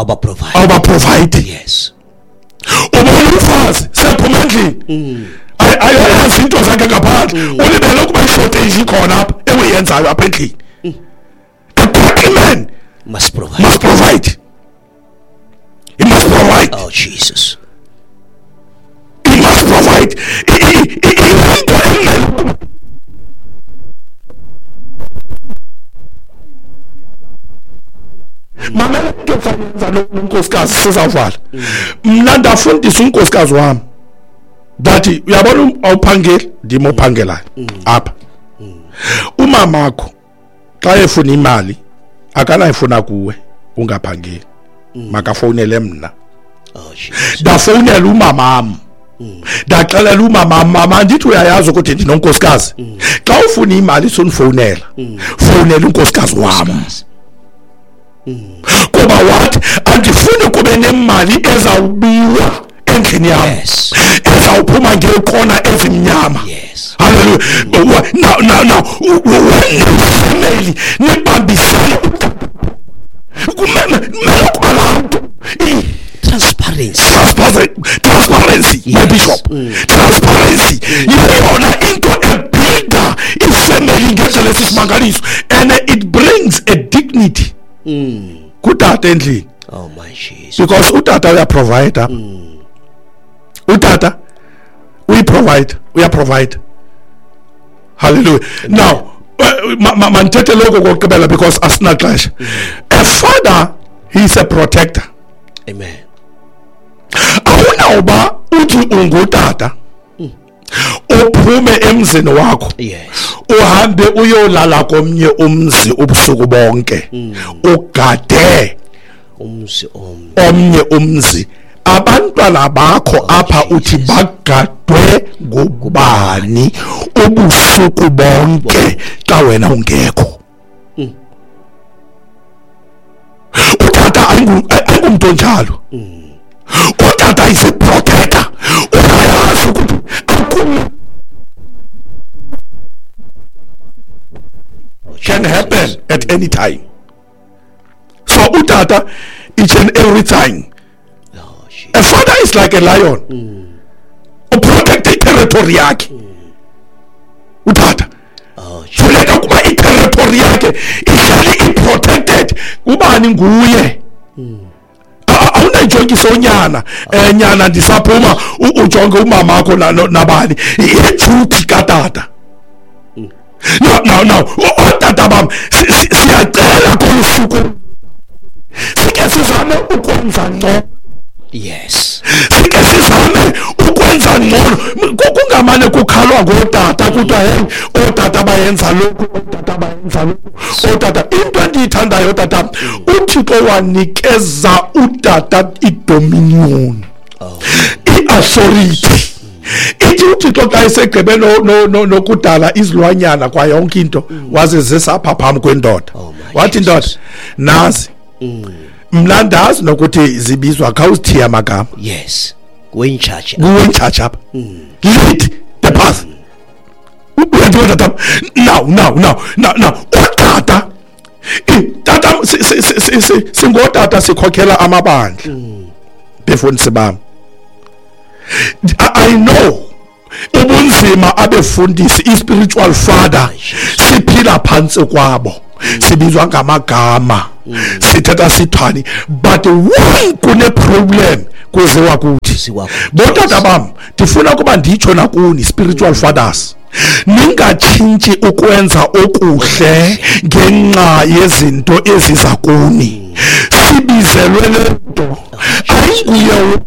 Awubaprovide. Awubaprovide. Yes. Ubona umfazi sephuma endlini, ayoyazi into zakhe ngaphandle, ulibele ukuba ishortage ikhona apha ewiyenzayo apha endlini. The godly man must provide. Must provide. He must provide. Oh Jesus. He must provide. Into emele mamela into esayenza lo nkosikazi sizawuvala. Mna ndafundisa unkosikazi wami ndathi uyabona awuphangeli, ndim ophangelayo apha. Umamakho xa efuna imali akanayifuna kuwe ungaphangeli, makafowunele mna. Oh Jesus. Ndafowunela umamam, ndaxelela umamam, mama ndithi uyayazi ukuthi ndinonkosikazi, xa ufuna imali sunifowunela, fowunela unkosikazi wam. Kuba wathi andifuni kube nemali ezawubiwa endlini yam, Yes. ezawuphuma ngeekona ezimnyama. Yes. Hallelujah. Now family nibambisane, kumele ukuba laa nto Transparency. Transparency, my Yes. bishop. Transparency yeyona into ebuilda ifamily ngendlela esisimangaliso, and it brings a dignity kutata endlini. Oh my Jesus. Because utata uyaprovide, utata uyiprovide, uyaprovide. Hallelujah. Now mandithethe lokho kokugqibela because asinaxesha. A father, he is a protector. Amen. Awunawuba uthi ungutata uphume emzini wakho, Yes. uhambe uyolala komnye umzi ubusuku bonke, ugade Umzi omnye. Omnye umzi, abantwana bakho apha uthi bagadwe ngubani ubusuku bonke xa wena ungekho? Utata ayingumntu onjalo. Utata is a protector. Uyayazi ukuthi can happen at any time. So utata each and every time. Oh, Jesus. A father is like a lion. Uprotect territory yakhe. Utata Oh Jesus. funeka kuba iterritory yakhe ihlale i-protected. Ubani nguye? Awunayijongiso nyana, nyana ndisaphuma, ujonge umamakho nabani. Yiduty katata. No, ootata bam, siyacela kolu suku sike sizame ukwenza ngcono. Yes. Sike sizame ukwenza ngcono. Kungamane kukhalwa ngootata kuthiwa hey, ootata bayenza lokhu, ootata bayenza lokhu, ootata. Into endiyithandayo tata, uThixo wanikeza utata idominion, Oh. i-authority. Ithi uThixo xa esegqibe nokudala izilwanyana kwa yonke into, wazizisa apha phambi kwendoda. Oh my Wathi ndoda, Jesus. nazi mna ndazi nokuthi zibizwa, khawuzithiye amagama. Yes. Go in charge. Kuwe in charge apha. Lead the path. Uyandibona tata? Now utata, tata, singotata sikhokhela amabandla. Befundisi bam, I know ubunzima abefundisi, i-spiritual father siphila phantsi kwabo, sibizwa ngamagama, sithetha sithani, but when kune-problem kuziwa kuthi. Kuziwa kuthi. Botata bam, ndifuna ukuba nditsho nakuni spiritual fathers, ningatshintshi ukwenza okuhle ngenxa yezinto eziza kuni. Sibizelwe le nto, ayinguye.